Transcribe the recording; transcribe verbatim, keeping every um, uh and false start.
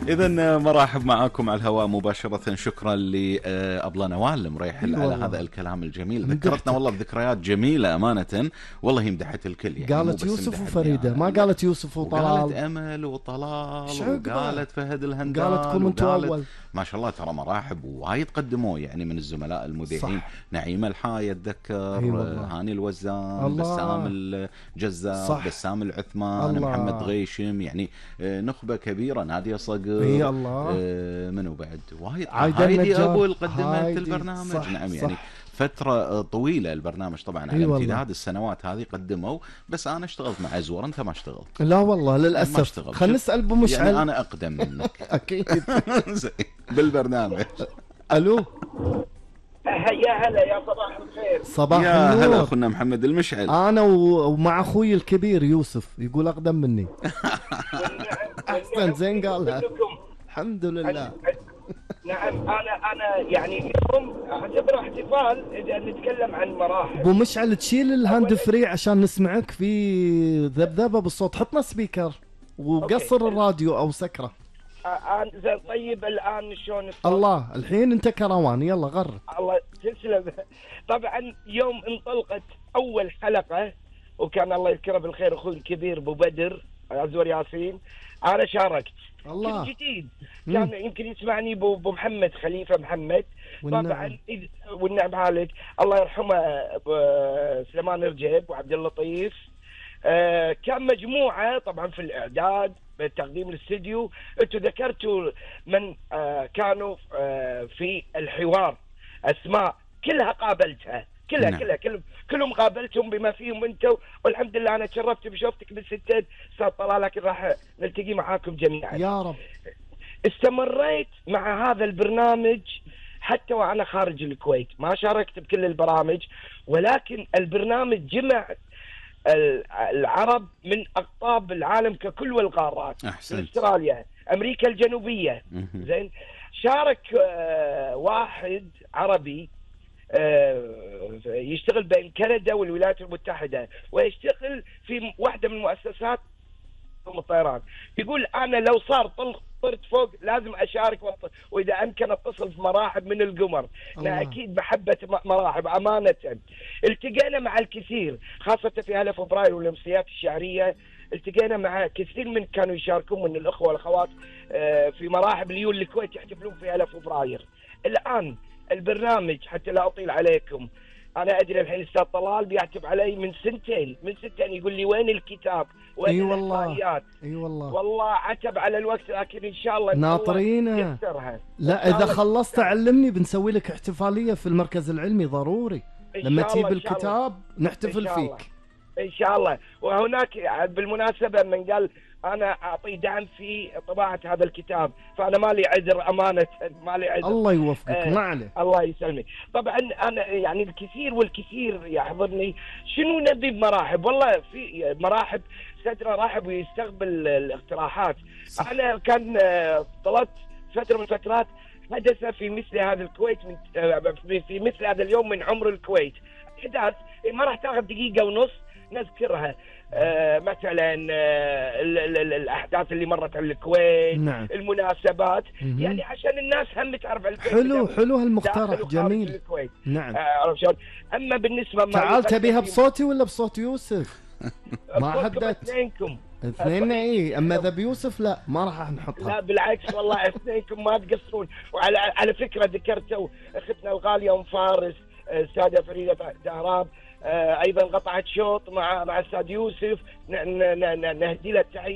إذن مرحب معاكم على الهواء مباشرة. شكرا لأبلة نوال المريحل على هذا الكلام الجميل. ذكرتنا والله بذكريات جميلة أمانة. والله مدحت الكل يعني. قالت يوسف وفريدة، ما قالت يوسف وطلال، قالت أمل وطلال، وقالت فهد الهندال، قالتكم انتوا أول. ما شاء الله ترى مراحب وايد قدموا يعني من الزملاء المذيعين. نعيم الحاي أتذكر، هاني الوزان، بسام الجزار، بسام العثمان، محمد غيشم، يعني نخبة كبيرة، نادية صقر، اي الله، آه منو بعد وايد، هايدي أبو اللي قدمت البرنامج. صح نعم صح. يعني فترة طويلة البرنامج طبعا على امتداد السنوات هذه قدموا. بس أنا اشتغلت مع أزور، أنت ما اشتغلت. لا والله للأسف. خلنا نسأل أبو مشعل. يعني أنا أقدم منك. أكيد. بالبرنامج. ألو. يا هلا، يا صباح الخير. صباح يا النور. هلا أخونا محمد المشعل. أنا ومع أخوي الكبير يوسف، يقول أقدم مني. أحسن، زين قالها. الحمد لله. نعم، أنا أنا يعني اليوم أعتبره احتفال إذا نتكلم عن مراحل. أبو مشعل تشيل الهاند فري عشان نسمعك في ذبذبة بالصوت. حطنا سبيكر وقصر الراديو أو سكره. آه زين طيب، الآن شلون الصوت؟ الله، الحين أنت كروان، يلا غرد. الله تسلم. طبعا يوم انطلقت أول حلقة، وكان الله يذكره بالخير أخوي الكبير أبو بدر أزور ياسين، أنا شاركت. الله. كنت جديد، كان مم. يمكن يسمعني أبو محمد خليفة محمد. والنعم. طبعا والنعم عليك، الله يرحمه سليمان رجب وعبد اللطيف. آه كان مجموعة طبعا في الإعداد بالتقديم الاستديو. انتوا ذكرتوا من آه كانوا آه في الحوار، أسماء كلها قابلتها، كلها نعم. كلها كلهم كلهم قابلتهم بما فيهم انتوا، والحمد لله انا تشرفت بشوفتك بالستين استاذ طلال، لكن راح نلتقي معاكم جميعا يا رب. استمريت مع هذا البرنامج حتى وانا خارج الكويت، ما شاركت بكل البرامج، ولكن البرنامج جمع العرب من اقطاب العالم ككل والقارات. أحسنت. استراليا، امريكا الجنوبيه. زين، شارك آه واحد عربي يشتغل بين كندا والولايات المتحدة، ويشتغل في واحدة من مؤسسات الطيران. يقول أنا لو صار طرت فوق لازم أشارك، وإذا أمكن أتصل في مراحب من القمر. أنا أكيد محبة مراحب أمانة. التقينا مع الكثير خاصة في هلا فبراير والأمسيات الشعرية، التقينا مع كثير من كانوا يشاركون من الأخوة والأخوات في مراحب ليول الكويت يحتفلون في هلا فبراير. الآن البرنامج حتى لا أطيل عليكم، أنا أدري الحين أستاذ طلال بيعتب علي من سنتين من سنتين يقول لي وين الكتاب وين أي والله. الإحصائيات. أي والله. والله عتب على الوقت، لكن إن شاء الله ناطرينه. لا إذا خلصت علمني، بنسوي لك احتفالية في المركز العلمي ضروري. لما تجيب الكتاب نحتفل فيك إن شاء الله. وهناك بالمناسبة من قال أنا أعطي دعم في طباعة هذا الكتاب، فأنا ما لي عذر أمانة، ما لي عذر. الله يوفقك. آه ما عليه. الله يسلمك. طبعا أنا يعني الكثير والكثير يحضرني شنو نبي بمراحب. والله في مراحب سترة رحب ويستقبل الاقتراحات. صح. أنا كان طلبت فترة من فترات حدث في مثل هذا الكويت من في مثل هذا اليوم من عمر الكويت، أحداث ما راح تاخذ دقيقة ونص نذكرها. آه مثلا آه الأحداث اللي مرت على الكويت. نعم. المناسبات. م-م. يعني عشان الناس هم تعرف الكويت. حلو حلو هالمقترح جميل. نعم. آه أما بالنسبة ما تعال تبيها بصوتي ولا بصوت يوسف؟ ما حددت. اثنينكم اثنين اي، اما ذا بيوسف لا ما راح نحطها. لا بالعكس والله اثنينكم ما تقصرون. وعلى على فكرة ذكرتوا اختنا الغالية ام فارس السادة فريدة دهراب، ايضا قطعت شوط مع مع الساد يوسف، نهدي له التحية.